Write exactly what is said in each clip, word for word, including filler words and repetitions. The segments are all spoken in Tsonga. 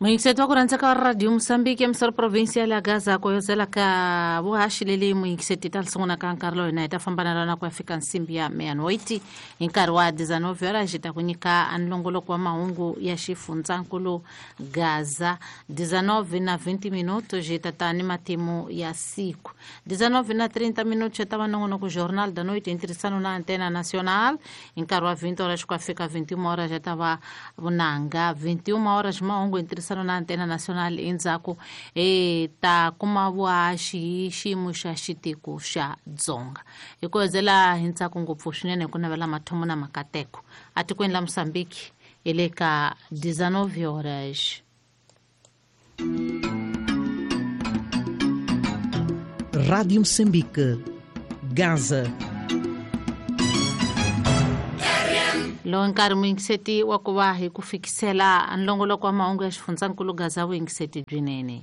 Muyingiseti wa ku rhandza ka Radio Mozambique emisoro provinsia la Gaza ku yozela ka vuhaxi leli muyingiseti ta sungula ka nkarhi lowu hina hi ta famba na rona ku ya fika nsimbi ya meia-noite hi nkarhi wa dezenove horas hi ta ku nyika nlongoloko wa mahungu ya xifundzankulu Gaza dezenove na vinte minutos hi ta ta ni matimu ya siku dezenove na trinta minutos hi ta va nongonoko Jornal da Noite em tirhisano na Antena Nacional hi nkarhi wa vinte horas ku ya fika vinte e uma horas hi ta va vunanga vinte e uma horas mahungu em tirhisano na Antena Nacional endzhaku e ta kuma vuhaxi hi xiyimo xa xitiko xa Dzonga hi ku hedzela hi ntsako ngopfu swinene ku navela mathomo na makateko atikweni la Mozambique hi le ka dezenove horas. Rádio Moçambique, Gaza. Lowu nkarhi muyingiseti wa ku va hi ku fikisela nlongoloko wa mahungu ya xifundzankulu Gaza vuyingiseti byinene.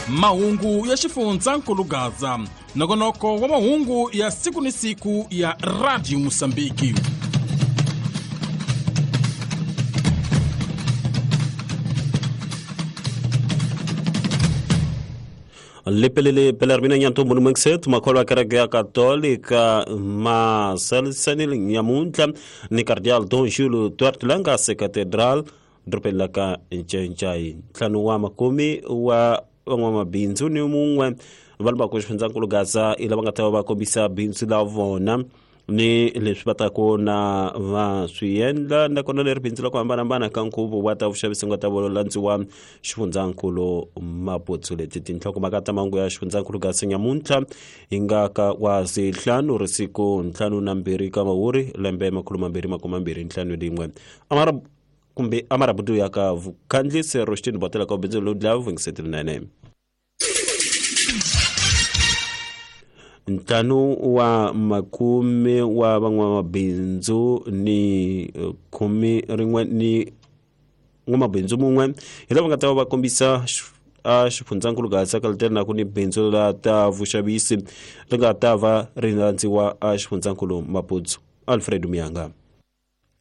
Mahungu ya xifundzankulu Gaza, nongonoko wa mahungu ya siku ni siku ya Radio Mozambique. Lepelele Belarmina Nyantombo Mxet makholwa kereke ya Katolika Maselsenil Nyamuntla ni Cardial Don Julio Duarte Langa se Cathedral dorobeni la ka Ncencai ntlhanu wa makume wa van'wamabindzu ni mun'we va le ku xifundzankulu Gaza i lava nga ta va va kombisa bindzu la vona ni leswi va ta ku na va swi endla nakona leri bindzu la ku hambanahambana ka nkhuvo wa ta vuxavisi nga ta landziwa xifundzankulu Maputo. Leti tinhlokomhaka ta mahungu ya xifundzankulu Gaza nyamuntlha hi nga ka wa sihlanu ri siku ntlhanu na mbirhi ka mawuri lembe makhulu mambirhi makume mambirhi ntlhanu rin'we amara kumbe amarabudu ya ka vukhandlisi Rostin Botela ka bindzu lowu dlaya vungiseteli nene. Ntlhanu wa makume wa van'wamabindzu ni khume rin'we ni n'wamabindzu mun'we hi lava nga ta va va kombisa a xifundzankulu Gaza ka letela ku ni bindzu la ta vuxavisi ri nga ta va ri landziwa a xifundzankulu Maputo. Alfredo Miyanga.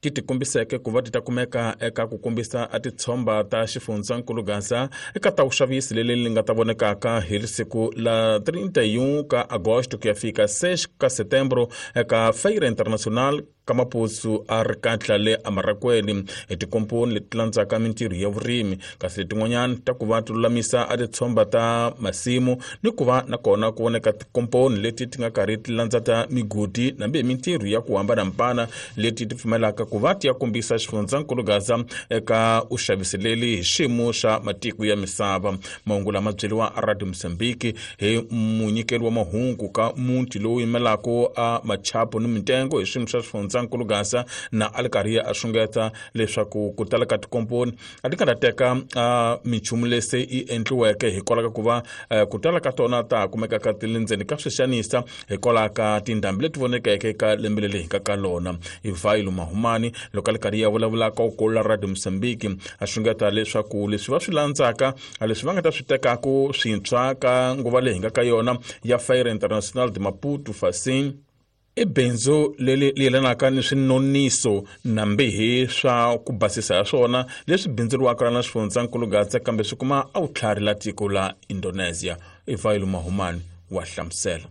Ti tikombiseke ku va ti ta kumeka eka ku kombisa a titshomba ta xifundzankulu Gaza eka ta vuxavisi leli li nga ta vonekaka hi siku la trinta e um ka agosto ku ya fika seis ka setembro eka Feira Internacional ka Maputo a ri katla le amarakweni hi tikomponi leti landzaka mintirho ya vurimi kasi letin'wanyana ta ku va ti lulamisa a titshomba ta masimu ni ku va nakona ku voneka tikomponi leti ti nga karhi ti landza ta migodi nambi hi mintirho ya ku hambanahambana leti ti pfumelaka ku va ti ya kombisa xifundzankulu Gaza eka uxavisi leli hi xiyimo xa matiko ya misava. Mahungu lama byeriwa a Radio Mozambique hi munyikeri wa mahungu ka muti lowu yimelaka a machapo ni mitengo hi xiyimo xa xifundzankulu Gaza na a li karhi a xungeta leswaku ku tala ka tikomponi a ti nga ta teka minchumu lese yi endliweke hikwalaho ka ku va ku tala ka tona ta kumekaka ti le ndzeni ka swixanisa hikwalaho ka tindhambi leti vonekeke eka lembe leri hi nga ka lona. Ivhailo Mahumani loko a li karhi ya vulavula ka ukolo la Radio Mozambique a xungeta leswaku leswi va swi landzaka leswi va nga ta swi tekaku swintshwa ka nguva leyi hi nga ka yona ya Feira Internacional de Maputo Facim i bindzu leri yelanaka ni swinoniso nambihi swa ku basisa ya swona leswi bindzuriwaka na xifundzankulu Gaza kambe swi kuma a vutlhari la tiko la Indonesia. Ivhailo Mahumani wa hlamusela.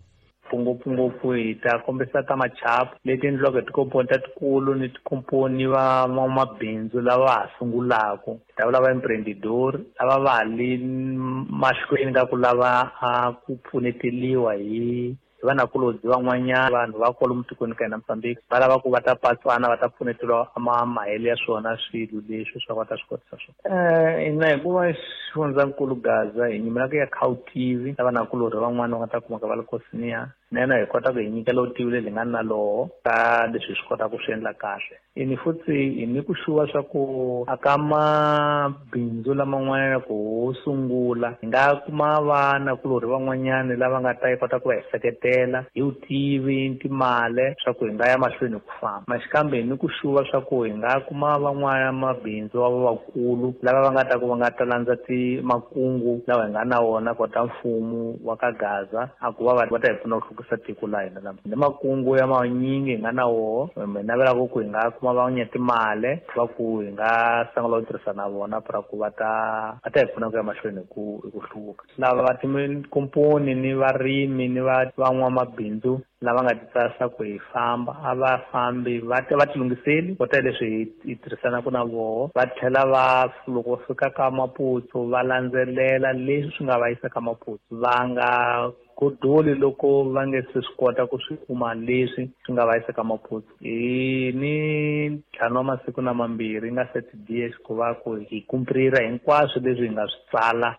Ngopfungopfu hi ta kombisa ta machapu leti endliwaka hi tikomponi ta tikulu ni tikomponi va van'wamabindzu lava ha sungulaka hi ta vulavula emprendedor lava va ha le mahlweni ka ku lava a ku pfuneteliwa hi vanakulobye van'wanyana vanhu va kwalomu tikweni ka hina Mozambique va lava ku va ta patswana va ta pfuneteliwa mahelo ya swona swilo leswi swa va ta swi kotisa swona. Hina hikuva xifundzankulu Gaza hi nyimelaka ya Khawutivi na vanakulorhi van'wana va nga ta kumeka va le Kosiniya na yena hi kota ku hi nyikela vutivi lebyi nga na loho ka leswi hi swi kotaka ku swi endla kahle. Ini futhi hi ni ku xuva swa ku aka mabindzu laman'wana ku sungula hi nga kuma vanakulorhi van'wanyana lava nga ta yi kota ku va hi seketela hi vutivi timali swa ku hi nga ya mahlweni ku famba maxikambe hi ni ku xuva swa ku hi nga kuma van'wana mabindzu wa vakulu lava va nga ta ku va nga ta landza ti makungu lawa hi nga na wona kota mfumo wa ka Gaza a ku va va ta hi pfuna ku tlakusa tiko la hina la ni makungu ya manyingi hi nga na woho hi navelaka ku hi nga kuma van'wanya timali va ku hi nga sungula ku tirhisa na vona pra ku va ta va ta hi pfuna ku ya mahlweni hi ku hi ku hluvuka. Lava va tikomponi ni varimi ni va van'wamabindzu lava nga ti tsarisa ku hi famba a va fambi va va ti lunghiseli kota leswi hi hi tirhisanaka na voho va tlhela va loko va fika ka Maputo va landzelela leswi swi nga va yisa ka Maputo va nga godoli loko va nge se swi kota ku swi kuma leswi swi nga va yisa ka Maputo. Hi ni ntlhanu wa masiku na mambirhi nga thirty days ku va ku hi kumprira hinkwaswo leswi hi nga swi tsala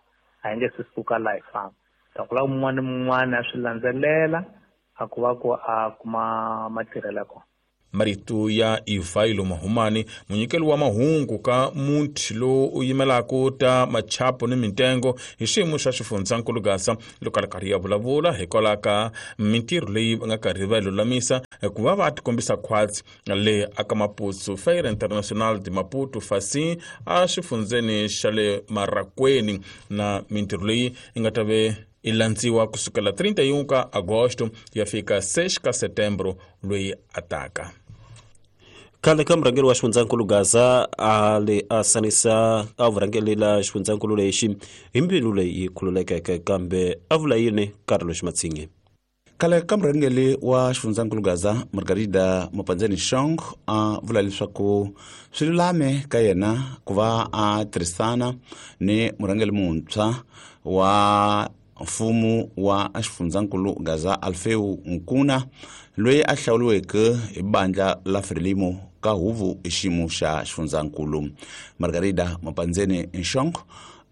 a hi nge se suka laha hi famba. Ta ku lava mun'wana ni mun'wana a swi landzelela a ku va ku a kuma matirhelo ya kona. Marito ya Ivailo Mahumani, munyikeli wa mahungu ka muti lowu u yimelaka ta machapo ni mintengo hi xiyimo xa xifundzankulu Gaza loko a ri karhi ya vulavula hikwalaho ka mintirho leyi va nga karhi va yi lulamisa ku va va tikombisa khwatsi le aka Maputo Feira Internacional de Maputo Facim a xifundzeni xa le Marakweni na mintirho leyi yi nga ta ve i landziwa kusukela trinta e um ka agosto ya fika seis ka setembro loyi ataka. Khale ka murhangeri wa xifundzankulu Gaza a le a sanisa a vurhangeri la xifundzankulu lexi hi mbilu leyi khululekeke kambe a vula yini Carlos Matsinge. Khale ka murhangeri wa xifundzankulu Gaza Margarida Mapandzeni Shong a vula leswaku swi lulame ka yena ku va a tirhisana ni murhangeri muntshwa wa mfumo wa xifundzankulu Gaza Alfeu Nkuna loyi a hlawuriweke hi bandla la Frelimo ka huvo hi xiyimo xa xifundzankulu. Margarida Mapandzeni Nshong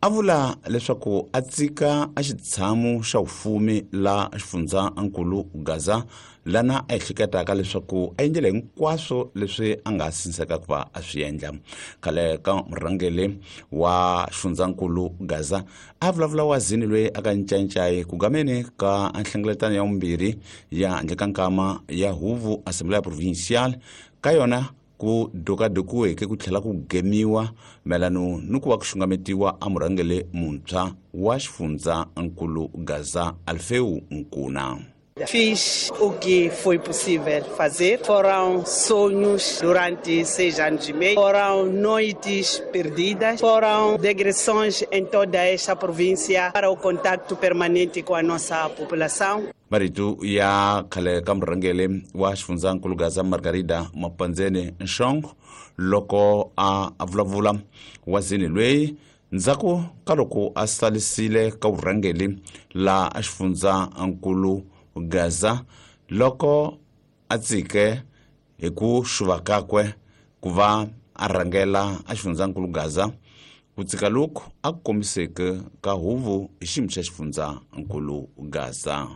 a vula leswaku a tsika a xitshamo xa vufumi la xifundzankulu Gaza lana a ehleketaka leswaku a endlele hinkwaswo leswi a nga sinseka ku va a swi endla. Khale ka murhangeri wa xifundzankulu Gaza a vulavula wazini loyi a ka ncancai ku gameni ka nhlengeletano ya vumbirhi ya handle ka nkama ya huvo Assembleia Provincial ka yona ku dokadokiweke ku tlhela ku gemiwa mayelano ni ku va ku xungametiwa a murhangeri muntshwa wa xifundzankulu Gaza Alfeu Nkuna. Fiz o que foi possível fazer. Foram sonhos durante seis anos e meio, foram noites perdidas, foram digressões em toda esta província para o contato permanente com a nossa população. Marito ya khale ka murhangeri wa xifundzankulu Gaza Margarida Mapandzeni Nshong loko a vulavula wazini loyi ndzhaku ka loko a salisile ka vurhangeri la xifundzankulu Gaza loko a tsike hi ku xuva kakwe ku va a rhangela a xifundzankulu Gaza ku tsika loku a ku kombiseke ka huvo hi xiyimo xa xifundzankulu Gaza.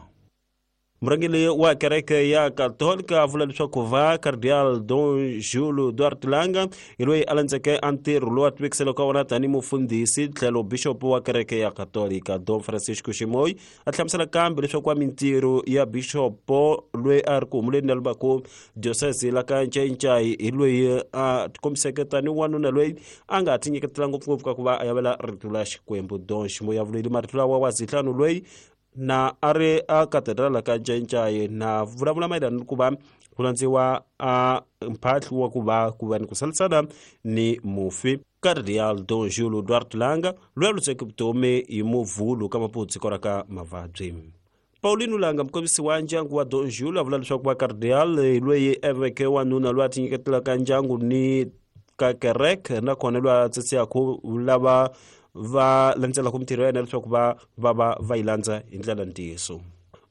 Murhangeri wa kereke ya Katolika a vula leswaku va Cardeal Don Julio Duarte Langa hi loyi a landzeke a ntirho lowu a tivekiseleke ka wona tanihi mufundhisi tlhelo bixopo wa kereke ya Katolika Don Francisco Ximoyi a hlamusela kambe leswaku wa mintirho ya bixopo loyi a ri ku humuleni na Lubaku diocese la ka Ncayincai hi loyi a tikombiseke tanihi wanuna loyi a nga tinyiketela ngopfungopfu ka ku va a yavela rito la Xikwembu. Don Ximoyi a vuleli marito lawa wa zihlanu loyi na a ri a katedrala ka Ncayincai na vulavula mayelana ni ku va ku landziwa a mphahlu wa ku va ku va ni ku salisana ni mufi Cardeal Don Julio Duarte Langa loyi a lutseke vutomi hi muvhulu ka Maputo siku ra ka mavabyi. Paulino Langa mukombisi wa ndyangu wa Don Julio a vula leswaku va Cardeal hi loyi a veke wanuna loyi a tinyiketelaka ndyangu ni ka kereke nakona loyi a tsetseyaka lava va landzelaka mintirho ya yena leswaku va va va va yi landza hi ndlela ntiyiso.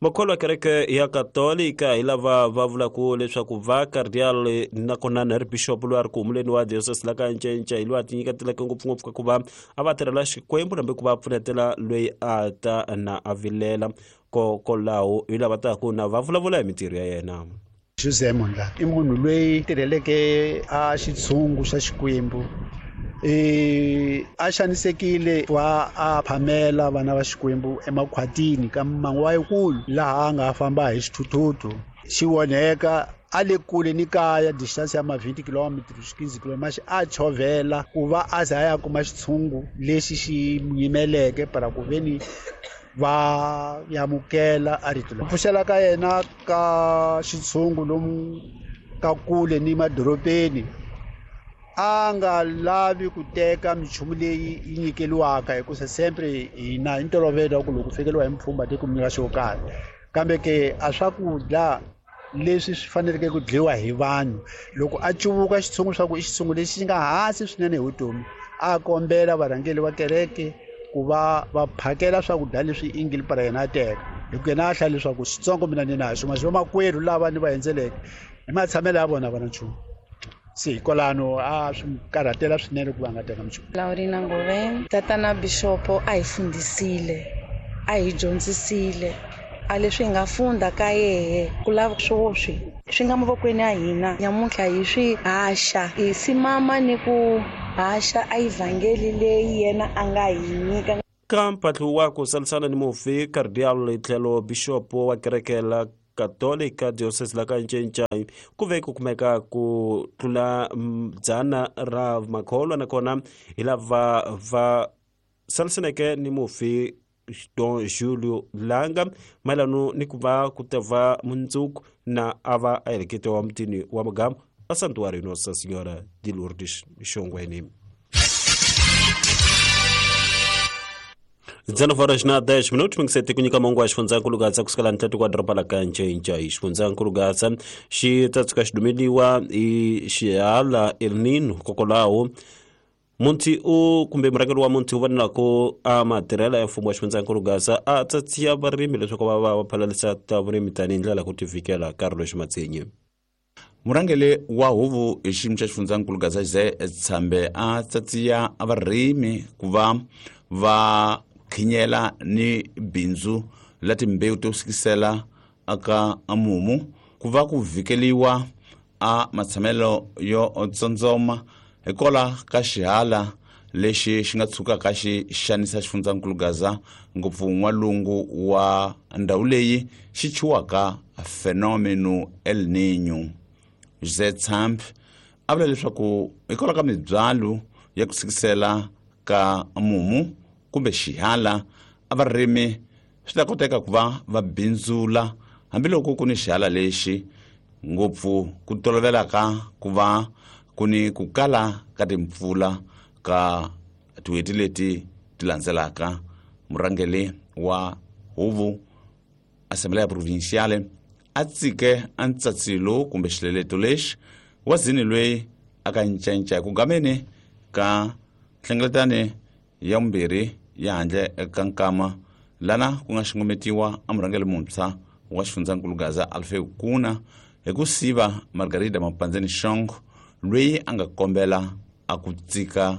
Makholwa ya kereke ya Katolika hi lava va vulaka leswaku va Cardeal nakona na ri bishop loyi a ri ku humuleni wa diocese la ka Ncayincai loyi a tinyiketeleke ngopfungopfu ka ku va a va tirhela Xikwembu nambe ku va pfunetela loyi a ta na a vilela kokolaho hi lava taku na va vulavula hi mintirho ya yena. José Mondla i munhu loyi tirheleke a xitshungu xa Xikwembu e a xanisekile wa a phamela vana va Xikwembu emakhwatini ka mmango wa yikulu laha a nga famba hi xithuthuthu xi onheka a le kule ni kaya distance ya ma twenty kilometers quinze kilometers a chovhela ku va a za ya kuma xitshungu lexi xi yimeleke para ku veni Va yamukela a rito leri. Pfuxela ka yena ka xitshungu lomu ka kule ni madorobeni a nga lavi ku teka minchumu leyi yi nyikeliwaka hikusa sempre hina hi ntolovelo wa ku loko fikeliwa hi mpfhumba tiko mi nyika xo karhi kambe ke a swakudya leswi swi faneleke ku dyiwa hi vanhu loko a cuvuka xitshungu swa ku i xitshungu lexi nga hansi swinene hi vutomi a kombela varhangeri va kereke ku va va phakela swakudya leswi ingili para yena a teka hi ku yena a hlaya leswaku xitsongo mina ni na xo ma vamakwerhu lava ni va endzeleke hi matshamelo ya vona va na nchumu se hikwalano a swi karhatela swinene ku va nga teka minchumu. Laurina Ngoveni, tatana Bishopo a hi fundisile a hi dyondzisile a leswi hi nga funda ka yehe ku lava swoswi swi nga mavokweni ya hina nyamuntlha hi swi haxa hi simama ni ku haxa a evhangeli leyi yena a nga hi nyika. Ka mpahlu wa ku salisana ni mufi Cardial tlhelo Bishopo wa kereke la Katolika Diocese la ka Ncencai ku ve ku kumeka ku tlula dzana ra makholwa nakona hi lava va salisaneke ni mufi Don Julio Langa mayelano ni ku va ku ta va mundzuku na a va a heleketiwa mutini wa Mugamu a Santuário Nossa Senhora de Lourdes Xongweni. dezenove horas na dez minutos, mingiseti ku nyika mongo wa xifundzankulu Gaza kusukela ntlhatu kwa doroba la ka Ncencai. Xifundzankulu Gaza xi ta tshuka xi dumeliwa hi xihala El Nino kokwalaho munti u kumbe murhangeri wa munti u vonelaka a matirhela ya mfumo wa xifundzankulu Gaza a tsatsiya varimi leswaku va va va phalalisa ta vurimi tanihi ndlela ku tivikela Carlos Matsenyi. Murhangeri wa huvo hi xiyimo xa xifundzankulu Gaza Jose Tshambe a tsatsiya varimi ku va va khinyela ni bindzu la timbewu to sikisela aka mumu ku va ku vikeliwa a matshamelo yo tsondzoma hikola ka xihala lexi xi nga tshukaka xi xanisa xifundzankulu Gaza ngopfu n'walungu wa ndhawu leyi xi chuwaka fenomeno El Niño. Jose Tshambe a vula leswaku hikola ka mibyalo ya ku sikisela ka mumu kumbe xihala a varimi swi ta koteka ku va va bindzula hambiloko ku ni xihala lexi ngopfu ku tolovelaka ku va ku ni ku kala ka timpfula ka tin'hweti leti ti landzelaka. Murhangeri wa huvo Assembleia Provinciale a tsike a ntsatsilo kumbe xileleto lexi wa zini loyi a ka ncenca ku gameni ka nhlengeletano ya vumbirhi ya handle ka nkama lana ku nga xungumetiwa a murhangeri muntshwa wa xifundzankulu Gaza Alfeu Kuna hi ku siva Margarida Mapandzeni Shongo loyi a nga kombela a ku tsika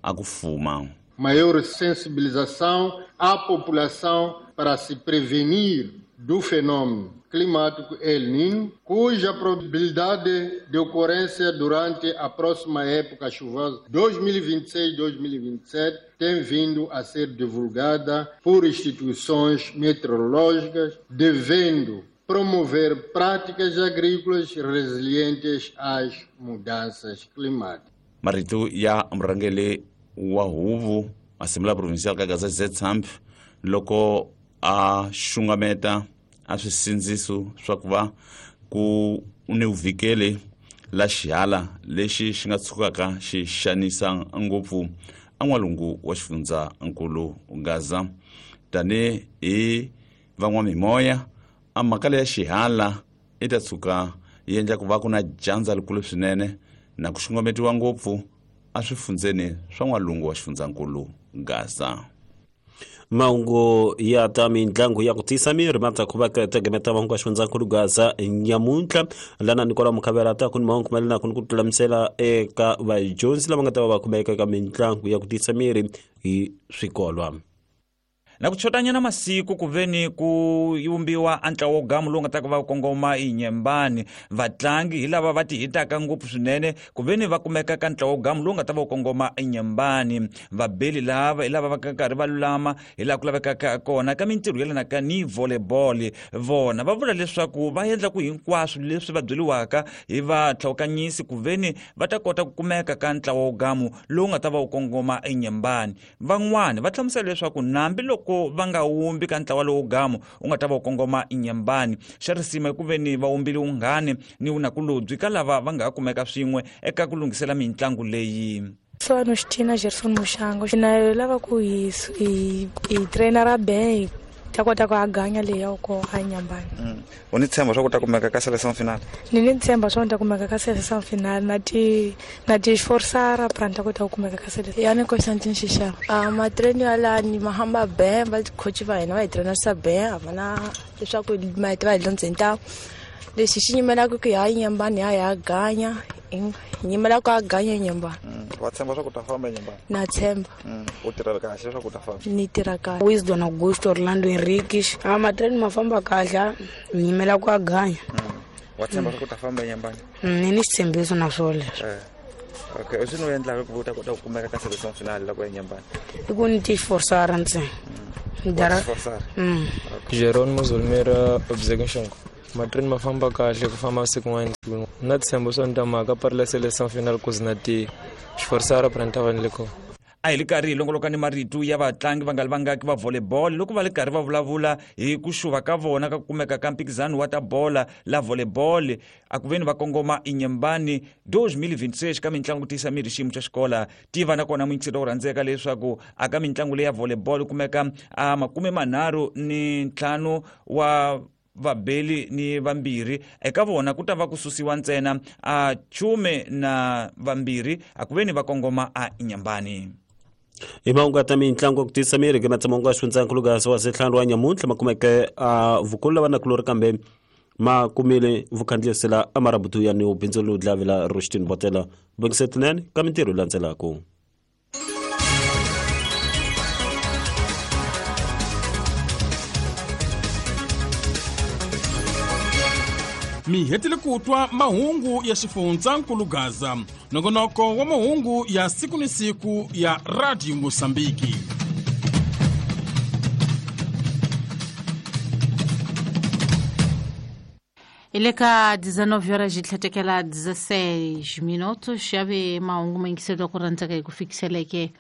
a ku fuma. Maior sensibilização à população para se prevenir do fenômeno climático El Niño, cuja probabilidade de ocorrência durante a próxima época chuvosa dois mil e vinte e seis dois mil e vinte e sete tem vindo a ser divulgada por instituições meteorológicas, devendo promover práticas agrícolas resilientes às mudanças climáticas. Marito ya murhangeri wa huvo Assembleia Provincial ka Gaza Jose Tshambe loko a xungameta a swisindziso swa ku va ku ni vuvikeli la xihala lexi xi nga tshukaka xi xanisa ngopfu a n'walungu wa xifundzankulu Gaza tani hi van'wamimoya a mhaka leya xihala i ta tshuka yi endla ku va ku na dyandza likulu swinene na ku xungumetiwa ngopfu a swifundzeni swa n'walungu wa xifundzankulu Gaza. Mahungu ya ta mitlangu ya ku tiyisa miri ma ta ku va ka tegemeta mahungu ya xifundzankulu Gaza nyamuntlha lana Nicola Mukhavela ta ku ni mahungu mayelana ku ni ku tlulamisela eka vadyondzi lava nga ta va va kumeka eka mitlangu ya ku tiyisa miri hi swikolwa. Na ku chotanyana masiku ku veni ku yumbiwa a ntlawa wo gamu lowu nga ta ku va kongoma inyembani vatlangi hi lava va ti hitaka ngopfu swinene ku veni va kumeka ka ntlawa wo gamu lowu nga ta va kongoma inyembani vabeli lava hi lava va karhi va lulama hi laha ku lavekaka kona ka mintirho yelanaka ni volleyball vona va vula leswaku va endla ku hinkwaswo leswi va byeriwaka hi vatlhawukanyisi ku veni va ta kota ku kumeka ka ntlawa wo gamu lowu nga ta va wu kongoma inyembani van'wani va hlamusela leswaku nambi loko hambiloko va nga wumbi ka ntlawa lowu gamu u nga ta va u kongoma Inhambane. Xa risima ku veni va wumbile unghani ni vunakulobye ka lava va nga kumeka swin'we eka ku lunghisela mintlangu leyi. Swa Xitina Gerson Mushango na lava ku hi hi trainer ben ta kota ku aganya leyi ya ko a Inhambane. U ni tshemba swa ku ta kumeka ka selection final? Ni ni tshemba swa ku ta kumeka ka selection final na ti na ti forsara pra ta kota ku kumeka ka selection. Ya ni Constantine Xixava. A ma train ya la ni mahamba ben va coach va hina va hi trainer sa ben a vana leswaku ma va hi londzeni ta lexi xi nyimelaka ku ya Inhambane ya ya ganya nyimela ku aganya Inhambane. Wa tshemba swa ku ta famba Inhambane? Na tshemba. U tirha kahle leswaku u ta famba? Ni tirha kahle. Wisdom Augusto Orlando Henriques. A matreni ma famba kahle, nyimela ku aganya. Wa tshemba swa ku ta famba Inhambane? Ni ni xitshembiso na swona leswo. Okay, u swi no endlaka ku ta kota ku kumeka ka selection final loko ya Inhambane? I ku ni ti forsara ntsena. Dara. Jerónimo Zulmira Obzegunshongo. Matreni ma famba kahle ku famba siku n'wana na tshembo swa ni ta mhaka parila selection final ku zina ti xiforsara pra ni ta va ni le kona. A hi li karhi hi longoloka ni marito ya vatlangi va nga li vangaki va volleyball loko va li karhi va vulavula hi ku xuva ka vona ka ku kumeka ka mphikizano wa ta bola la volleyball a ku veni va kongoma Inhambane twenty twenty-six ka mitlangu ku tiyisa miri xiyimo xa xikola. Tiva nakona muyingiseri wo rhandzeka leswaku a ka mitlangu leyi ya volleyball kumeka a makume manharhu ni ntlhanu wa vabeli ni vambirhi eka vona ku ta va ku susiwa ntsena a chume na vambirhi a ku veni va kongoma a Inhambane. Hi mahungu ya ta mitlangu ku tiyisa miri ke matsamongo ya xifundzankulu Gaza wa setlhanu wa nyamuntlha ma kumeke a vukulu lava nakulori kambe ma kumile vukhandziyisela a marabutu ya ni bindzu lowu dlavela Rustin Botela bongisetinene ka mintirho yi landzelaka. Mi hetile ku twa mahungu ya xifundzankulu Gaza, nongonoko wa mahungu ya siku ni siku ya Radio Mosambiki. Ile ka dezenove horas de tlhatekela dezesseis minutos xave mahungu ma yingiseriwa ku rhandzeka hi ku fikiseleke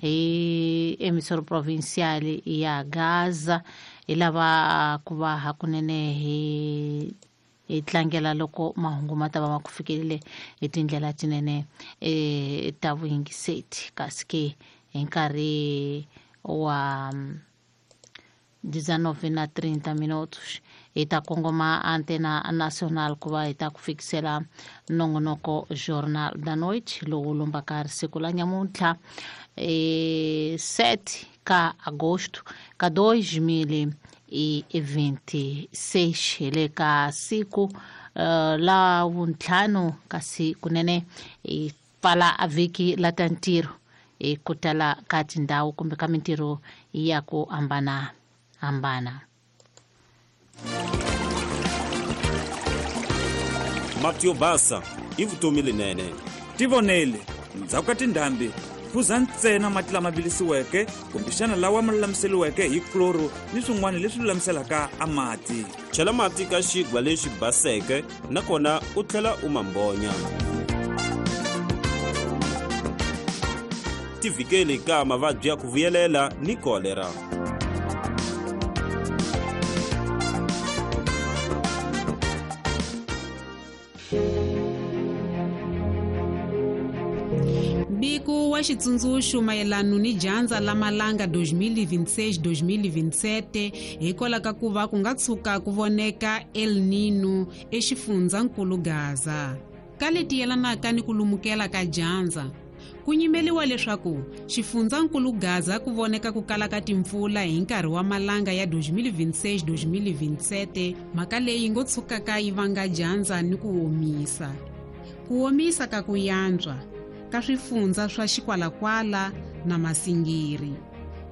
hi emissora provincial ya Gaza hi lava ku va hakunene hi hi tlangela loko mahungu ma ta va ma ku fikelele hi tindlela tinene e ta vuyingiseti kasi ke hi nkarhi wa dezenove na trinta minutos hi ta kongoma antena nacional ku va hi ta ku fikisela nongonoko Jornal da Noite lowu lombaka risiku la nyamuntlha e sete ka agosto ka dois mil e vinte e seis hi le ka siku uh, la vuntlhanu kasi kunene hi pfala a vhiki la ta ntirho hi ku tala ka tindhawu kumbe ka mintirho ya ku hambana hambana. Mati yo basa i vutomi lenene. Tivonele ndzhaku ka tindhambi phuza ntsena mati lama vilisiweke kumbexana lawa ma lulamiseriweke hi chloro ni swin'wana leswi lulamiselaka a mati. Chela mati ka xigwa lexi baseke nakona u tlhela u mambonya. Tivikele ka mavabyi ya ku vuyelela ni kolera. Mbiko wa xitsundzuxo mayelana ni dyandza la malanga dois mil e vinte e seis dois mil e vinte e sete hikwalaho ka ku va ku nga tshuka ku voneka El Nino exifundzankulu Gaza. Ka leti yelanaka ni ku lumukela ka dyandza, ku nyimeliwa leswaku xifundzankulu Gaza ku voneka ku kala ka timpfula hi nkarhi wa malanga ya dois mil e vinte e seis dois mil e vinte e sete, mhaka leyi ngo tshukaka yi vanga dyandza ni ku omisa. Ku omisa ka ku yantswa ka swifundza swa Xikwalakwala na Masingiri.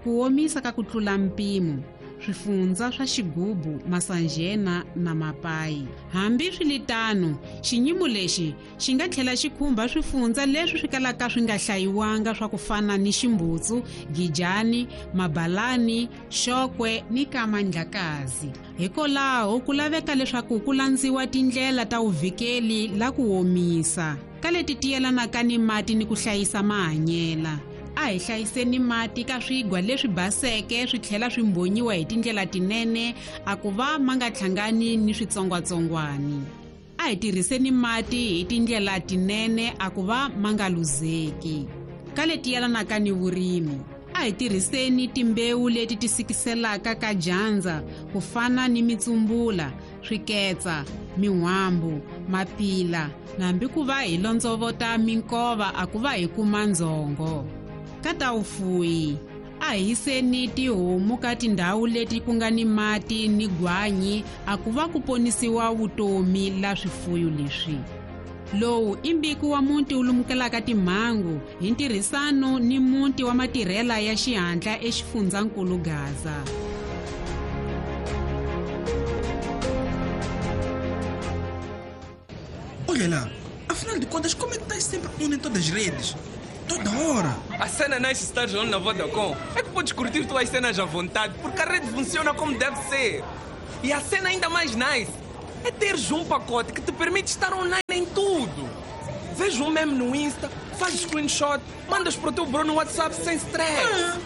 Ku omisa ka ku tlula mpimo swifundza swa Xigubu, Masanjena na Mapai. Hambi swiritano, xinyimo lexi xi nga tlhela xi khumba swifundza leswi swi kalaka swi nga hlayiwanga swa ku fana ni Ximbutsu, Gijani, Mabalani, Xokwe ni Kamandlakazi. Hikwalaho ku laveka leswaku ku landziwa tindlela ta vuvikeli la ku omisa ka leti tiyelanaka ni mati ni ku hlayisa mahanyela. A hi hlayiseni mati ka swigwa leswi baseke swi tlhela swi mbhonyiwa hi tindlela tinene a ku va ma nga hlangani ni switsongwatsongwani. A hi tirhiseni mati hi tindlela tinene a ku va ma nga luzeki. Ka leti yelanaka ni vurimi, a hi tirhiseni timbewu leti ti sikiselaka ka dyandza ku fana ni mitsumbula, swiketsa, min'wambu, mapila, nambi ku va hi londzovota minkova a ku va hi kuma ndzhongo. Ka ta vufuwi, a hi yiseni tihomu ka tindhawu leti ku nga ni mati ni gwanyi a ku va ku ponisiwa vutomi la swifuyo leswi. Lowu i mbiko wa muti wu lumukelaka timhangu hi ntirhisano ni muti wa matirhela ya xihatla eXifundzankulu Gaza. Olha lá, afinal de contas, como é que estás sempre on em todas as redes? Toda hora. A cena nice estar on na Vodacom é que podes curtir tuas cenas à vontade, porque a rede funciona como deve ser. E a cena ainda mais nice é teres um pacote que te permite estar online em tudo. Vês um meme no Insta, fazes screenshot, mandas para o teu bro no WhatsApp sem stress. Ah.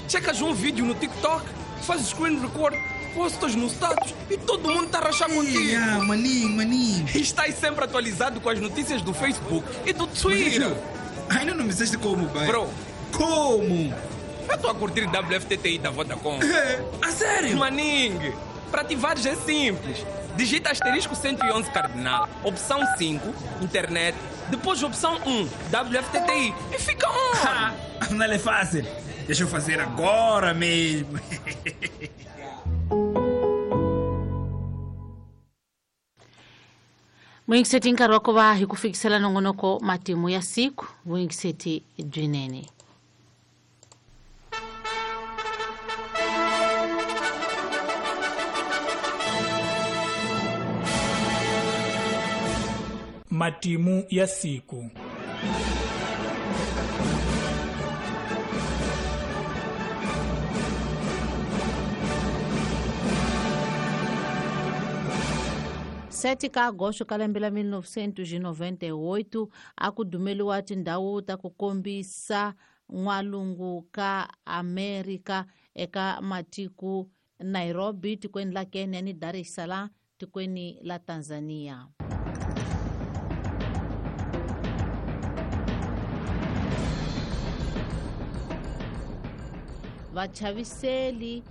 Checas um vídeo no TikTok, fazes screen record, postas no status e todo mundo está a rachar contigo. Ah, maninho, maninho. E estás sempre atualizado com as notícias do Facebook e do Twitter. Ainda não me disseste como, pai. Bro. Como? Eu estou a curtir W F T T I da Vodacom. É, a sério? Maningue, para ativares é simples. Digita asterisco cento e onze cardinal, opção cinco, internet, depois opção um, W F T T I e fica on! Não é fácil. Deixa eu fazer agora mesmo. Vuyingiseti nkarhi wa ku va hi ku fikisela nongonoko matimu ya siku, vuyingiseti byinene. Matimu ya siku. sete ka agosto ka lembe la mil novecentos e noventa e oito a ku dumeliwa tindhawu ta ku kombisa n'walungu ka Amerika eka matiko Nairobi tikweni la Kenya ni Dar es Salaam tikweni la Tanzania. Vachaviseli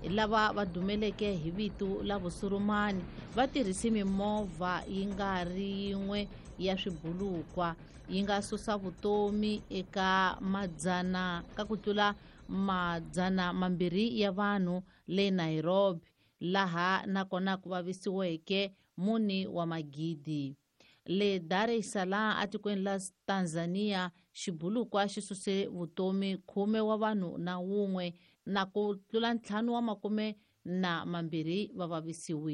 lava va dumeleke hi vito la vusurumani va tirhise mimovha yi nga ri yin'we ya swibulukwa yi nga susa vutomi eka madzana ka ku tlula madzana mambirhi ya vanhu le Nairobi, laha nakona ku vavisiweke mune wa magidi. Le Dar es Salaam atikweni la Tanzania xibulukwa xi suse vutomi khume wa vanhu na wun'we na ku tlula ntlhanu wa makume na mambirhi va vavisiwile.